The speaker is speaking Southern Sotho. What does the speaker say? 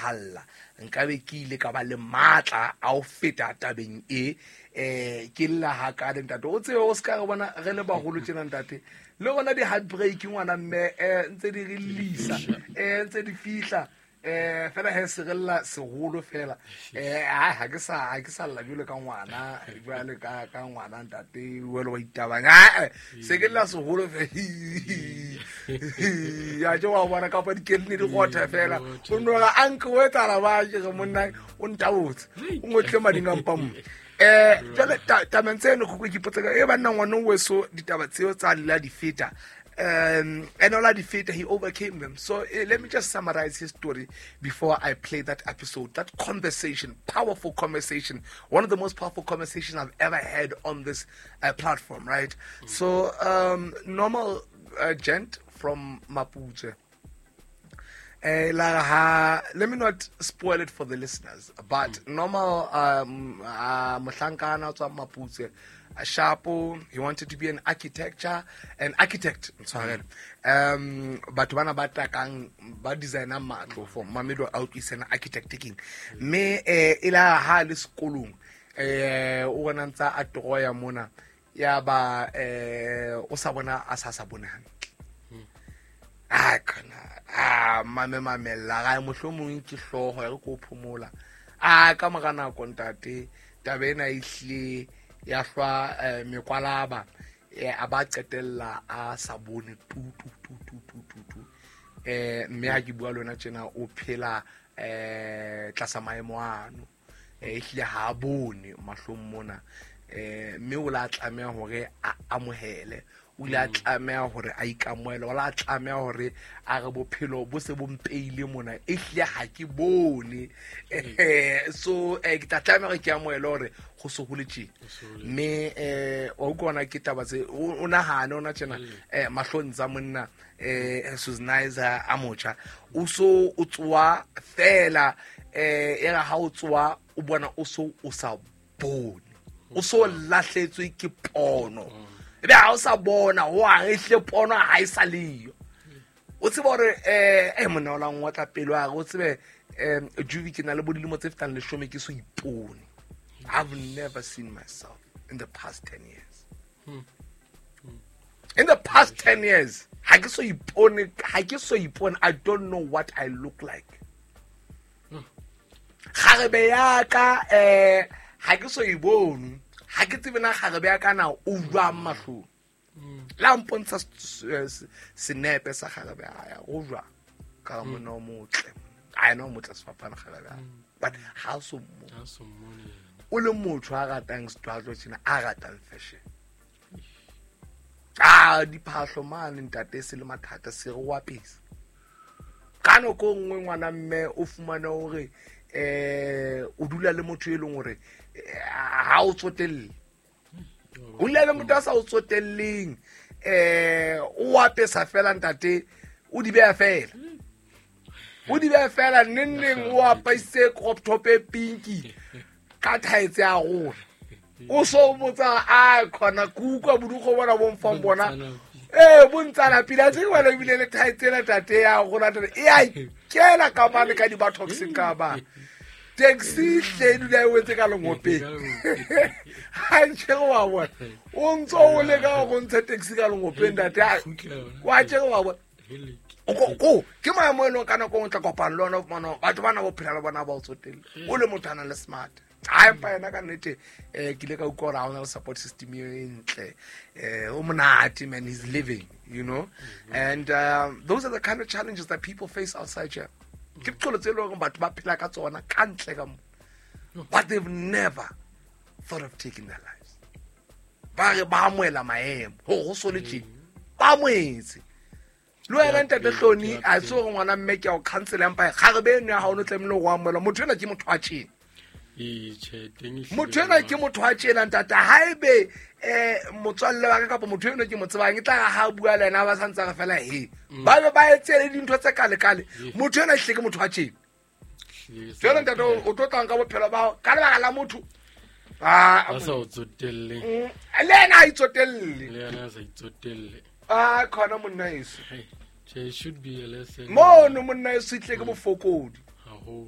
etsahalla nkabe ke ile ka ba le matla a ho feta tabeng e ke lla hakale ntate. O tsebe o se ka re bona re le baholo tjena ntate, le rona di-heartbreak ngwana mme ntse di re llisa, ntse di fihla fela he se re lla seholo fela. Ha ke sa lla jwalo ka ngwana, jwale ka ngwana ntate wele wa itabang. Se ke lla seholo fela. Ya tje wa bona kapa dikelne di gotha fela. O no ga anke o etsala ba ke re monna o ntabotse. O ngotle mading a mpa mo. Jwale tabeng tseno go ke ipotsa ka e banna ngwana o weso ditaba tseo tsa la di feta. And all di feta, he overcame them. So let me just summarize his story before I play that episode, that conversation, powerful conversation, one of the most powerful conversations I've ever had on this platform, right? So normal gent from Mapuche. Let me not spoil it for the listeners, but normal mohlankana tswa Mapuche, Shapo, he wanted to be an architect. Sorry. Batho bana ba takang ba designer matlo for mamedo a utlwisana architect king. Me ila ha le sekolong o bona ntsa a troya mona ya ba o sa bona a sa bone hantle. A kana a mame mamella ga mohlomong ke hloho ya re ko phomola. A ka mora nako ntate taba ena e hlile ya hlwa mekwalaba a ba qetella a sa bone tu tu tu tu tu tu tu. Mme ha ke bua le wena tjena o phela tlasa maemo ano. Ehlile ha bone mahlong mona. Mme o la tlameha hore a amohele, o ile a tlameha hore a ikamohele, o la tlameha hore a re bophelo bo se bo mpeile mona ehlile ha ke bone. So ke tla tlameha hore ke amohele hore go se hole tje. Mme wa utlwa ke taba tse o nahane ona tjena mahlong tsa monna Suznaiza a motjha o so o tswa fela era ha o tswa o bona o so o sa bone, o so lahletswe ke pono. Ebe ha o sa bona ho a ehle pono ha e sa leyo. O tsebe hore monna o la ngotla pelo a re o tsebe Juvi ke na le bo dilemo tse fetang 10 ke so ipone. I've never seen myself in the past 10 years. In the past 10 years, ha ke so ipone, ha ke so ipone, I don't know what I look like. Kgarebe ya ka ha ke so ibone, ha ke tsebe na kgarebe ya ka na o jwang mahlong. La mpontsha senepe sa kgarebe ya o jwang ka monna o motle. A ena o motle sefapana kgarebe. But ha so mo. O le motho a ratang setwatlo tjena, a ratang fashion. Ah, diphahlo mane ntate se le mathata se re wa pesa. Ka nako nngwe ngwana mme o fumane hore o dula le motho e leng hore ha o tsotelle. O dula le motho a sa o tsotelleng, o apesa fela ntate, o di beha fela. O di beha fela neng o apaise crop top e pinki ka thaetse ya rona. O so botsa a khona kuka bodugo bona bo mfang bona. Bontsana pila tse wena ebile le thaetse la tate ya rona tate e a kela ka mane ka di ba toxic ka ba. Taxi hle dula e wetse ka lengopeng. Ha ntse wa bona. O ntso o le ka go ntsha taxi ka lengopeng tate. Wa tse wa bona. Ko ke maemo eno ka nako o tla kopana le ona mona batho bana bo phela le bona ba o tsotelle. O le motho a nang le smart. Ha empa yena ka nnete ke ile ka utlwa hore ha ona le support system e ntle. O monate man, he's living, you know. And those are the kind of challenges that people face outside here. Ke diqolo tse leng hore batho ba phela ka tsona ka ntle ka mo. But they've never thought of taking their lives. Ba re ba amohela maemo ho so le tje. Ba amohetse. Le wena ntate Hloni a se hore ngwana mme ke a o cancel empa kgarebe eno ya hao no tlamehile ho amohela. Motho ena ke motho wa tjena. Motho ena ke motho wa tjena ntate. Haebe motswalle wa ka kapa motho eno ke mo tsebang e tla ha bua le yena ba sa ntse re fela he. Ba be ba etse le dintho tse kale kale. Motho ena hle ke motho wa tjena. Jwale ntate o tlo tlang ka bophelo ba hao ka lebaka la motho. A sa o tsotelle. Le yena a itsotelle. Le yena a sa itsotelle. Ah, khona monna eso. Che should be a lesson. Mono monna eso itle ke bofokodi.